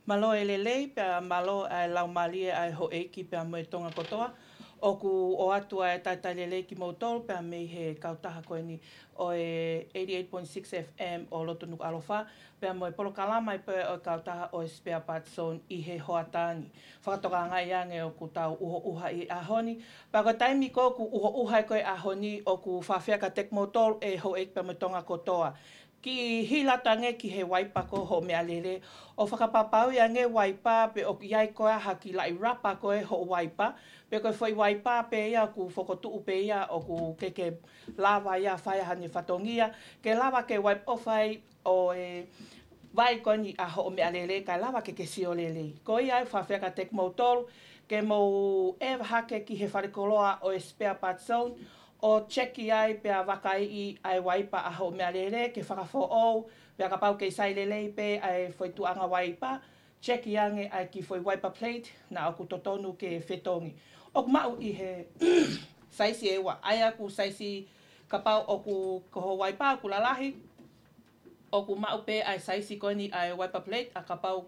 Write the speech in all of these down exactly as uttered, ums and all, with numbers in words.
Mālō e lelei, pea mālō ʻa e laumālie ʻa e houʻeiki pea mo e Tonga kotoa. ʻOku ʻoatu ʻa e talitali lelei kimoutolu pea mei he kautaha ko eni ʻo e eighty-eight point six F M ʻo Loto Nukuʻalofa, pea mo e polokalama ʻi pē ʻo e kautaha ʻo e Spare Parts Zone ʻi he hoʻatā ni. Fakatokangaʻi ange ʻoku tau ʻuhoʻuha ʻi he ʻaho ni, pea ko e taimi ko ē ʻoku ʻuhoʻuha ai ko ē ʻaho ni ʻoku faʻa fai atu kiate kimoutolu e houʻeiki pea mo e Tonga kotoa. Kiʻi hila atu ange ki he uaipa ko hoʻo meʻalele, ʻo fakapapauʻi ange uaipa pe ʻoku ʻi ai ko ē ha kiʻi laʻi rapa ko ē hoʻo uaipa, pe ko e foʻi uaipa pē ia ʻoku fokotuʻu pē ia ʻoku ke ke lava ia fai haʻane fatongia, ke lava ke uaipa ʻo fai ʻo e vai ko eni ʻa hoʻo meʻalele kae lava ke ke sio lelei. Ko ia ʻoku faʻa fai atu kiate kimoutolu, ke mou ʻeva hake ki he falekoloa ʻo e Spare Parts Zone, ʻo check-i ai pea vakaiʻi ʻa e uaipa ʻa hoʻo meʻalele ke fakafoʻou, pea kapau ʻoku kei sai lelei pē ʻa e foʻi tuʻunga uaipa, check-i ange ʻa e kiʻi foʻi uaipa plate naʻa ʻoku totonu ke fetongi. ʻOku maʻu ʻi he saisi ʻe ua, ʻa ia ʻoku saisi kapau ʻoku ko hoʻo uaipa ʻoku lalahi, ʻoku maʻu pē ʻa e saisi ko eni ʻa e uaipa plate, ʻa kapau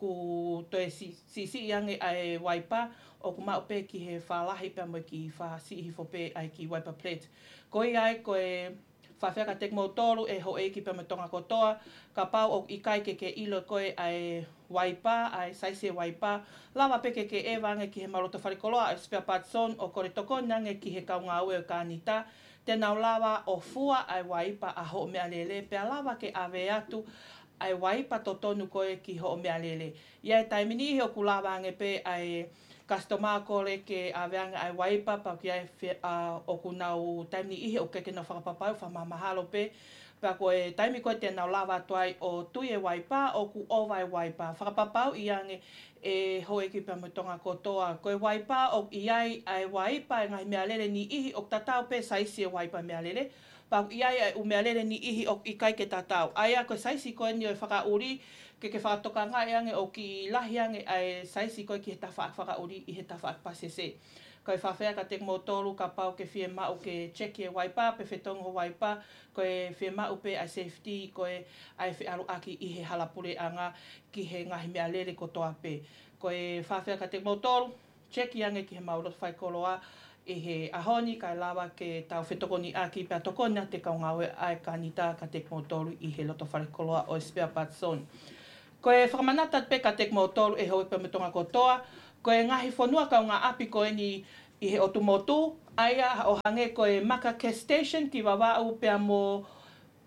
ʻoku toe si-, siʻisiʻi ange ʻa e uaipa, ʻoku maʻu pē ki he fālahi pea mo e kiʻi fāsiʻi hifo pē ʻa e kiʻi uaipa plate. Ko ia ai ko e faʻa fai atu kiate kimoutolu e houʻeiki pea mo e Tonga kotoa, kapau ʻoku ʻikai ke ke ʻilo ko ē ʻa e uaipa, ʻa e saisi e uaipa, lava pē ke ke ʻeva ange ki he mau loto falekoloa ʻo e Spare Parts Zone ʻo kole tokoni ange ki he kau ngāue ʻo e Kānita, te nau lava ʻo fua ʻa e uaipa ʻa hoʻo meʻalele, pea lava ke ʻave atu ʻa e uaipa totonu ko ē ki hoʻo meʻalele. ʻI he taimi niʻihi ʻoku lava ange pē ʻa e customer kole ke ʻave ange ʻa e uaipa, pea ʻoku ʻi ai e fe-, ʻa, ʻoku nau taimi niʻihi ʻoku ʻikai ke nau fakapapauʻi, fakamahalo pē, pea ko e taimi ko ē te nau lava atu ai ʻo tui e uaipa, ʻoku ʻova e uaipa. Fakapapauʻi ange e houʻeiki pea mo e Tonga kotoa, ko e uaipa ʻoku ʻi ai ʻa e uaipa e ngaahi meʻalele niʻihi ʻoku tatau pē saisi e uaipa meʻalele, pea ʻoku ʻi ai ʻa e ʻū meʻalele niʻihi ʻoku ʻikai ke tatau. ʻA ia ko e saisi ko eni ʻo e fakaʻuli, ke ke fakatokangaʻi ange ʻoku kiʻi lahi ange ʻa e saisi ko ē ki he tafaʻaki fakaʻuli ʻi he tafaʻaki pasese. Ko e faʻa fai atu kiate kimoutolu kapau ʻoku ke fiemaʻu ke check-i e uaipa, pe fetongi hoʻo uaipa, ko e fiemaʻu pē ʻa e safety, ko e ʻa e feʻaluʻaki ʻi he hala puleʻanga ki he ngaahi meʻalele kotoa pē. Ko e faʻa fai atu kiate kimoutolu, check-i ange ki he mau loto falekoloa ʻi he ʻaho ni kae lava ke tau fetokoniʻaki pea tokoni atu e kau ngāue ʻa e Kānita kiate kimoutolu ʻi he loto falekoloa ʻo e Spare Parts Zone. Ko e fakamanatu atu pē kiate kimoutolu e houʻeiki pea mo e Tonga kotoa, ko e ngaahi fonua kaungāʻapi ko eni ʻi he ʻotu motu, ʻa ia ʻo hangē ko e Maka Gas Station ki Vavaʻu pea mo,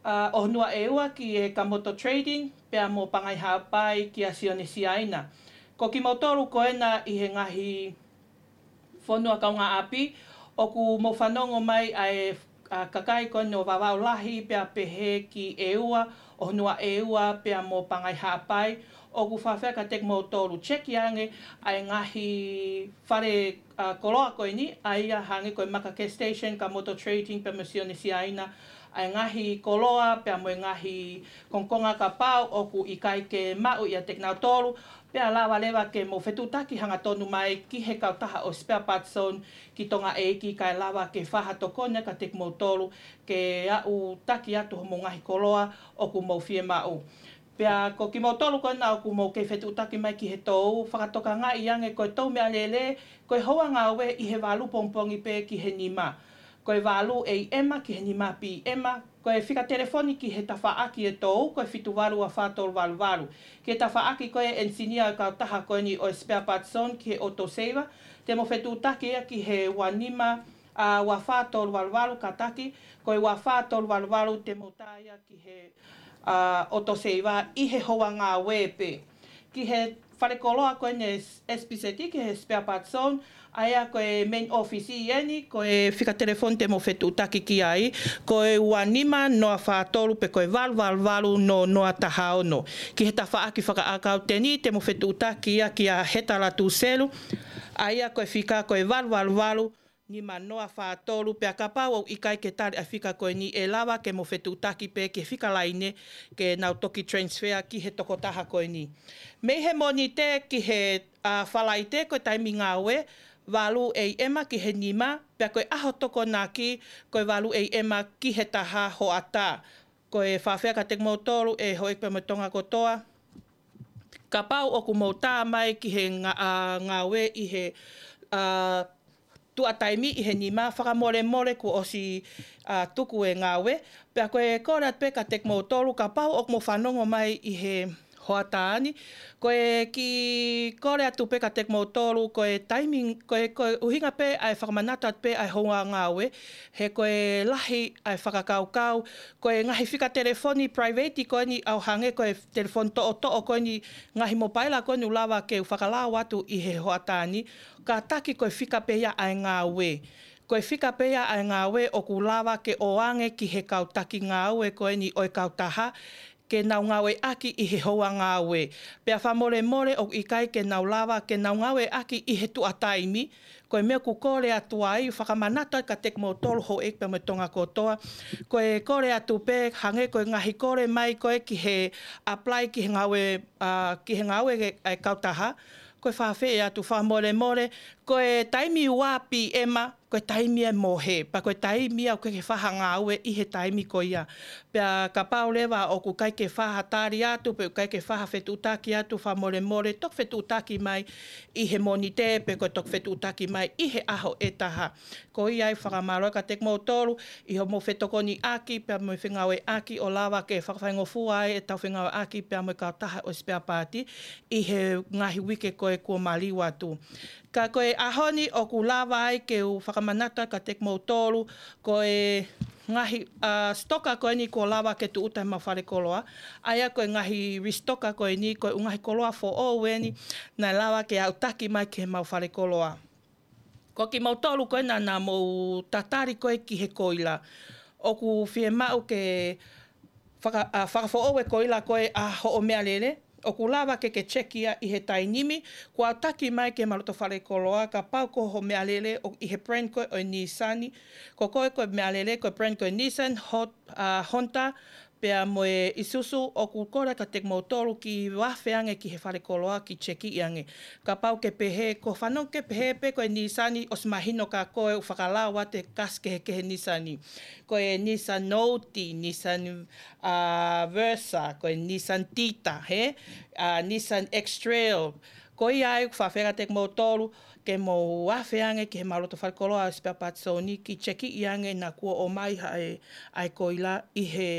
ʻa, ʻOhonua ʻEua ki he Kamoto Trading, pea mo Pangai Haʻapai kia Sione Siaina. Ko kimoutolu ko ena ʻi he ngaahi fonua kaungāʻapi, ʻoku mou fanongo mai ʻa e, ʻa, kakai ko eni ʻo Vavaʻu Lahi, pea pehē ki ʻEua, ʻOhonua ʻEua, pea mo Pangai Haʻapai, ʻoku faʻa fai atu kiate kimoutolu, check-i ange ʻa e ngaahi fale, ʻa, koloa ko eni, ʻa ia hangē ko e Maka Gas Station, Kamoto Trading, pea mo Sione Siaina, ʻa e ngaahi koloa, pea mo e ngaahi kongokonga kapau ʻoku ʻikai ke maʻu ʻiate kinautolu, pea lava leva ke mou fetuʻutaki hangatonu mai ki he kautaha ʻo e Spare Parts Zone ki Tonga ʻEiki kae lava ke fai ha tokoni kiate kimoutolu ke aʻu taki atu homou ngaahi koloa ʻoku mou fiemaʻu. Pea ko kimoutolu ko ena ʻoku mou kei fetuʻutaki mai ki he tou, fakatokangaʻi ange ko e tou meʻalele, ko e houa ngāue ʻi he valu pongipongi pē ki he nima. Ko e valu A M ki he nima P M, ko e fika telefoni ki he tafaʻaki e tou, ko e fitu valu ua fā tolu valu valu. Ki he tafaʻaki ko e enisinia ʻo e kautaha ko eni ʻo e Spare Parts Zone ki he Auto Saver, te mou fetuʻutaki ia ki he ua nima, ʻa, ua fā tolu valu valu, kātaki, ko e ua fā tolu valu valu te mou tā ia ki he, ʻa, Auto Saver ʻi he houa ngāue pē. Ki he falekoloa ko eni S P Z ki he Spare Parts Zone, ʻa ia ko e main office ʻi heni, ko e fika telefoni te mou fetuʻutaki ki ai, ko e ua nima noa fā tolu pe ko e valu valu valu noa noa taha ono. Ki he tafaʻaki fakaʻakauteni te mou fetuʻutaki ia kia Heta Latuselu, ʻa ia ko e fika ko e valu valu valu nima noa fā tolu, pea kapau ʻoku ʻikai ke tali ʻa e fika ko eni ʻe lava ke mou fetuʻutaki pē ki he fika laine ke nau toki transfer ki he tokotaha ko eni. Mei he Mōnite ki he, ʻa, Falaite ko e taimi ngāue, valu A M ki he nima, pea ko e ʻaho Tokonaki, ko e valu A M ki he taha hoʻatā. Ko e faʻa fai atu kiate kimoutolu e houʻeiki pea mo e Tonga kotoa, Kapau ʻoku mou tā mai ki he nga-, ʻa, ngāue ʻi he, ʻa, tuʻa taimi ʻi he nima, fakamolemole kuo ʻosi, ʻa, tuku e ngāue. Pea ko e kole atu pē kiate kimoutolu, kapau ʻoku mou fanongo mai ʻi he hoʻatā ni, ko e kiʻi kole atu pē kiate kimoutolu, ko e taimi, ko e, ko e ʻuhinga pē ʻa e fakamanatu atu pē ʻa e houa ngāue, he ko e lahi ʻa e fakakaukau, ko e ngaahi fika telefoni private ko eni ʻo hangē ko e telefoni toʻotoʻo ko eni, ngaahi mopaila ko eni ʻoku lava ke u fakalau atu ʻi he hoʻatā ni, kātaki ko e fika pē ia ʻa e ngāue. Ko e fika pē ia ʻa e ngāue ʻoku lava ke ʻoange ki he kau taki ngāue ko eni ʻo e kautaha, ke nau ngāueʻaki ʻi he houa ngāue. Pea fakamolemole ʻoku ʻikai ke nau lava ke nau ngāueʻaki ʻi he tuʻa taimi, ko e meʻa ʻoku kole atu ai, fakamanatu atu kiate kimoutolu houʻeiki pea mo e Tonga kotoa. Ko e kole atu pē, hangē ko e ngaahi kole mai ko ē ki he apply ki he ngāue, ʻa, ki he ngāue ʻa e kautaha. Ko e fakafeʻiloaki atu fakamolemole, ko e taimi ua P M, ko e taimi ʻe mohe, pea ko e taimi ia ʻoku ʻikai ke fai ha ngāue ʻi he taimi ko ia. Pea kapau leva ʻoku ʻikai ke fai ha tali atu, pe ʻoku ʻikai ke fai ha fetuʻutaki atu, fakamolemole, toki fetuʻutaki mai ʻi he Mōnite, pe ko e toki fetuʻutaki mai ʻi he ʻaho ʻe taha. Ko ia ai fakamālō kiate kimoutolu, ʻi hoʻomou fetokoniʻaki, pea mo e fengāueʻaki ʻo lava ke fakafaingofua ai ʻetau fengāueʻaki, pea mo e kautaha ʻo e spare part, ʻi he ngaahi uike ko ē kuo maliu atu. Ka ko e ʻaho ni ʻoku lava ai ke u fakamanatu atu kiate kimoutolu, ko e ngaahi, ʻa, sitoka ko eni kuo lava ke tūʻuta ʻi heʻemau fale koloa. ʻA ia ko e ngaahi risitoka ko eni, ko e ʻū ngaahi koloa foʻou eni, naʻe lava ke aʻutaki mai ki heʻemau fale koloa. Ko kimoutolu ko ē naʻa, naʻa mou tatali ko ē ki he koila, ʻoku fiemaʻu ke faka-, ʻa, fakafoʻou e koila ko ē ʻa hoʻo meʻalele, ʻoku lava ke ke checkia ʻi he taimi ni, kuo aʻutaki mai ki heʻemau loto fale koloa, kapau ko hoʻo meʻalele ʻoku ʻi he brand ko ē ʻo e Nissan, ko koe ko e meʻalele ko e brand ko e Nissan, Hot-, ʻa, Honda, pea mo e Isuzu, ʻoku kole kiate kimoutolu ke vave ange ki he fale koloa ke checkiʻi ange. Kapau ke pehē, ko e fanongo ke pehē pē ko e Nissan ʻosi mahino kia koe ʻoku fakalau atu e kasi kehekehe Nissan. Ko e Nissan Note, Nissan, ʻa, Versa, ko e Nissan Titan, hē? ʻA, Nissan X-Trail. Ko ia ai ʻoku fakafeʻiloaki kiate kimoutolu, ke mou vave ange ki heʻemau loto fale koloa ʻo e spare parts zone ni ke checkiʻi ange naʻa kuo ʻomai ha e, ʻa e koila ʻi he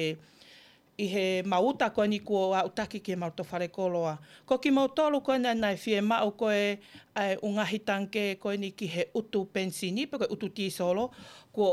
ʻi heʻemau uta ko eni kuo aʻutaki ki heʻemau loto fale koloa. Ko kimoutolu ko ena naʻe fiemaʻu ko ē ʻa e ʻū ngaahi tangikē ko eni ki he ʻutu penisini, pe ko e ʻutu tīsolo, kuo